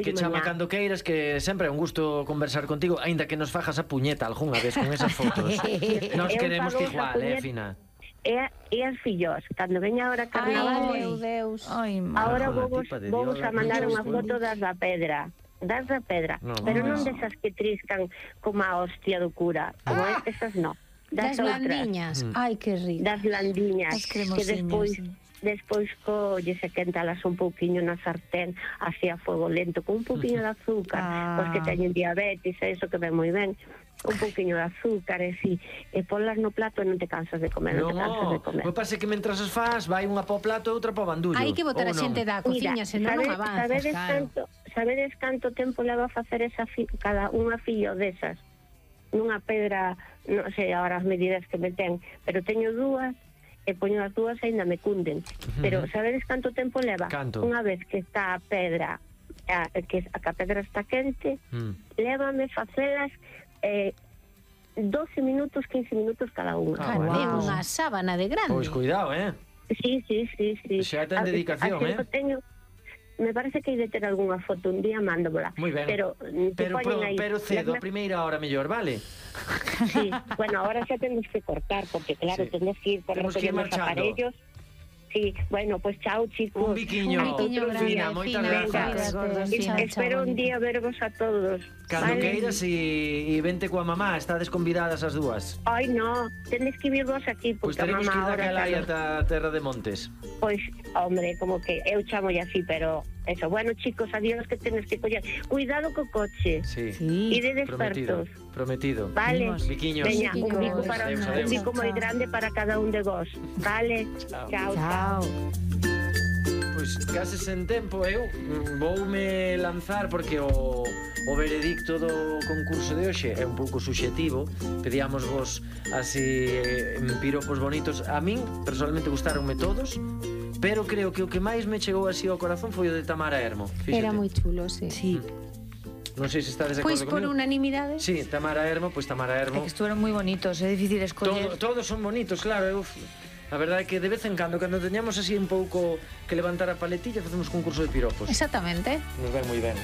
que chama cando queiras, que sempre é un gusto conversar contigo, aínda que nos fajas a puñeta algunha vez con esas fotos. Nos queremos que igual, Fina. E as fillos, cando veña ahora carnaval, meu Deus. Ahora vos a mandar unha foto das da pedra, pero non desas que triscan como a hostia do cura, como esas non. Das landiñas, ai que rico. Das landiñas, que despois colles e quéntalas un pouquiño na sartén así a fuego lento, con un pouquiño de azúcar, os que teñen diabetes, eso que ven moi ben, un pouquiño de azúcar e ponlas no plato e non te cansas de comer, non te cansas de comer. Me parece que mentras as fas vai unha po plato e outra po bandullo. Hai que botar a xente da cociña, senón non avanzas. Sabedes canto tempo leva a facer cada unha fillo desas? Nunha pedra, non sei agora as medidas que me ten, pero teño dúas, e poño as dúas e ainda me cunden. Pero sabedes canto tempo leva? Unha vez que está a pedra, que a pedra está quente, lévame facelas 12 minutos, 15 minutos cada unha. É unha sábana de grande. Pois cuidado, Sí. Xa ten dedicación, Me parece que hai de ter algunha foto un día, mándomola. Moi ben. Pero cedo, a primeira hora mellor, vale? Sí, bueno, ahora xa temos que cortar, porque claro, temos que ir por os aparellos. Sí, bueno, pues chao, chicos. Un biquiño, Fina, moitas grazas. Espero un día vervos a todos. Cando queiras e vente coa mamá, estades convidadas as dúas. Ai, no, tenes que vir vos aquí, porque a mamá ahora... Pois teremos que ir daquela aí ata a Terra de Montes. Pois, hombre, como que eu chamo así, pero... Eso, bueno, chicos, adiós, que tenes que coller. Cuidado co coche. Sí. E de despertos. Prometido. Vale. Biquiños. Veña, un bico moi grande para cada un de vos. Vale. Chao. Pois case sen tempo eu voume lanzar porque o veredicto do concurso de hoxe é un pouco subxetivo. Pedíamos vos así piropos bonitos. A min personalmente gustaronme todos, pero creo que o que máis me chegou así ao corazón foi o de Tamara Hermo. Era moi chulo, sí. Non sei se estades de acordo comigo. Pois por unanimidade. Sí, Tamara Hermo. É que estuvieron moi bonitos, é difícil escoller. Todos son bonitos, claro. A verdade é que de vez en cando teñamos así un pouco que levantar a paletilla, facemos concurso de piropos. Exactamente. Nos ven moi ben.